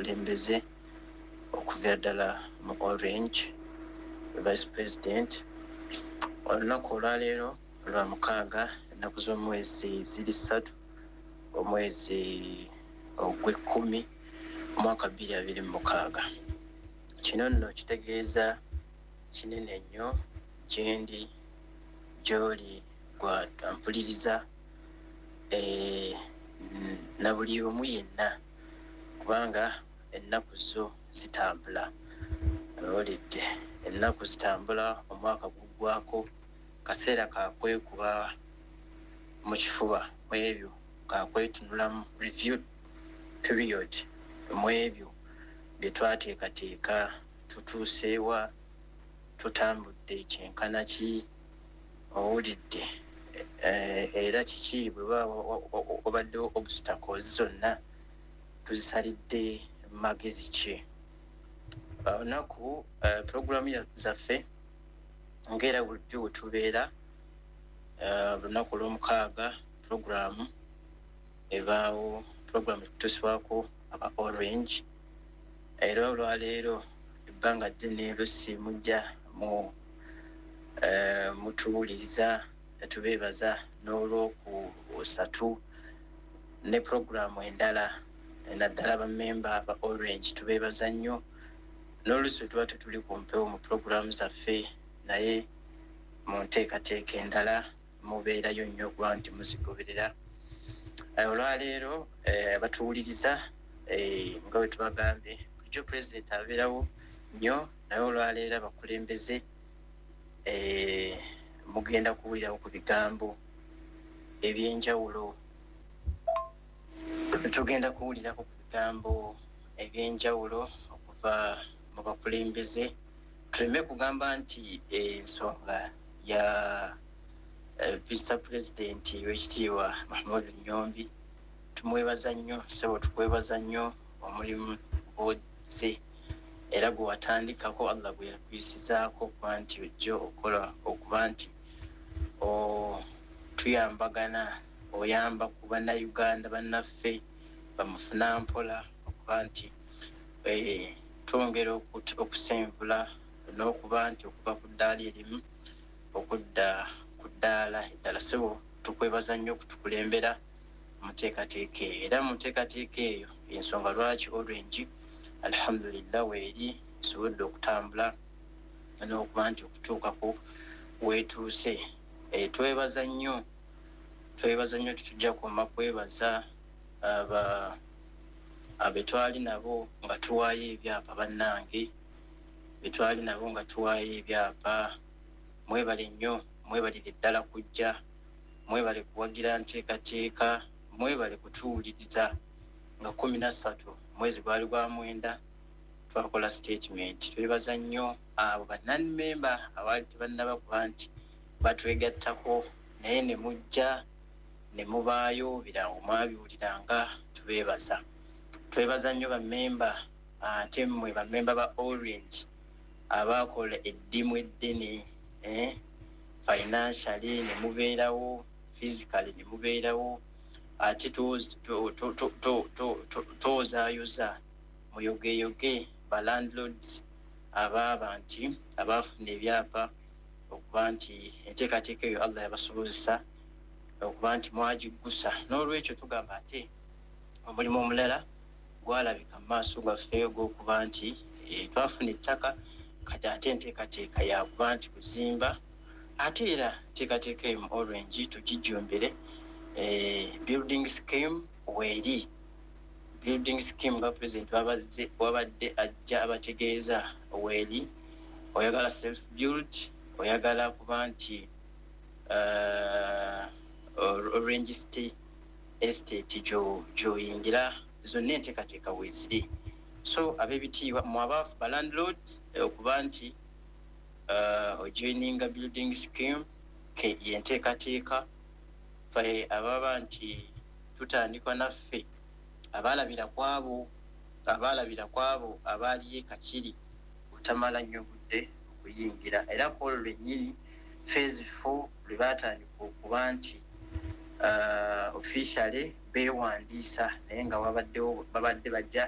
abakulembeze okuviira ddala mu Orange, Vice President. Olunaku olwaleero lwa mukaaga, ennaku z'omwezi ziri 3, omwezi ogw'ekkumi, omwaka 2026. Kino nno kitegeeza kinene nnyo gyendi, gy'oli gwampuliriza, na buli omu yenna, kubanga ennaku zo zitambula. Owulidde, ennaku zitambula, omwaka guggwako, kaseera kakwekuba mu kifuba mu ebyo, kakwetunulamu, review period mu ebyo bye twateekateeka. Tutuuseewa? Tutambudde kyenkana ki? Owulidde, era kiki bwe wabaddewo obstacles zonna tuzisalidde magezi ki? Olunaku puroguramu zaffe ngaera bulijjo we tubeera lunaku olwomukaaga, puroguramu ebaawo, puroguramu ekutuusibwako aba Orange. Era olwaleero ebbanga ddene lusi mujja mu mutuwuliriza, tubeebaza n'olwokusatu ne puroguramu endala, naddala bamemba ba Orange tubeebaza nnyo. N'oluusi tuba tetuli ku mpewo mu puroguramu zaffe, naye mu nteekateeka endala mubeerayo nnyo okuba nti muzigoberera. Olwaleero abatuwuliriza, nga bwe tubagambye bulijjo, Pulezidenti abeerawo nnyo, naye olwaleero abakulembeze mugenda kuwulirawo ku bigambo ebyenjawulo. Tugenda kuwulirako ku bigambo ebyenjawulo okuva mu bakulembeze. Tuleme kugamba nti ensonga ya Mr President w'ekitiibwa Mahmud Nyombi, tumwebaza nnyo. Sebo, tukwebaza nnyo omulimu gwozze era gwe watandikako, Allah gwe yakuyisizaako okuba nti ojja okola, okuba nti tuyambagana, oyamba ku Bannayuganda bannaffe bamufuna mpola, okuba nti twongera okusenvula n'okuba nti okuva ku ddaala erimu okudda ku ddaala eddala. Sebo, tukwebaza nnyo okutukulembera mu nteekateeka eyo, era mu nteekateeka eyo ensonga lwaki Orange, alhamdulillah, weeri esobodde okutambula n'okuba nti okutuukako weetuuse. Twebaza nnyo, twebaza nnyo, tetujja kwoma kwebaza aba betwali nabo nga tuwaayo ebyapa. Bannange betwali nabo nga tuwaayo ebyapa, mwebale nnyo, mwebalire ddala kujja, mwebale kuwagira nteekateeka, mwebale kutuwuliriza. Nga 13 mwezi gwali gwa mwenda twakola statement. Twebaza nnyo abo bannanmemba abaali tebannaba kuba nti batwegattako, naye ne mujja ne mubaayo, birango mwabiwuliranga. Tubeebaza, twebaza nnyo bammemba. Ate mmwe bammemba ba Orange abakola eddimu eddene, financially ne mubeerawo, physically ne mubeerawo, ate twozaayoza muyogeyoge ba landlords abaaba nti abaafuna ebyapa, okuba nti enteekateeka eyo Allah yabasobozesa okuba nti mwagiggusa. N'olwekyo tugamba ate omulimu omulala gwalabika mu maaso gaffe ogw'okuba nti twafuna ettaka, kati ate enteekateeka yakuba nti kuzimba. Ate era enteekateeka eyo mu Orange tugijjumbire, building scheme weeri. Building scheme nga President wabadde ajja abategeeza weeri. Oyagala self build, oyagala kuba nti Orange City Estate gyoyingira, zonna enteekateeka weeziri. So ab'ebitiibwa mu abaafu ba landlords, okuba nti ojoininga building scheme yenteekateeka. Fe ababa nti tutandikwa naffe abaalabira kwabo abaaliyo ekakiri otamala nnyo budde okuyingira, era kwolwo lwennyini phase 4 lwe baatandika okuba nti officially beewandiisa, naye nga wabaddewo babadde bajja.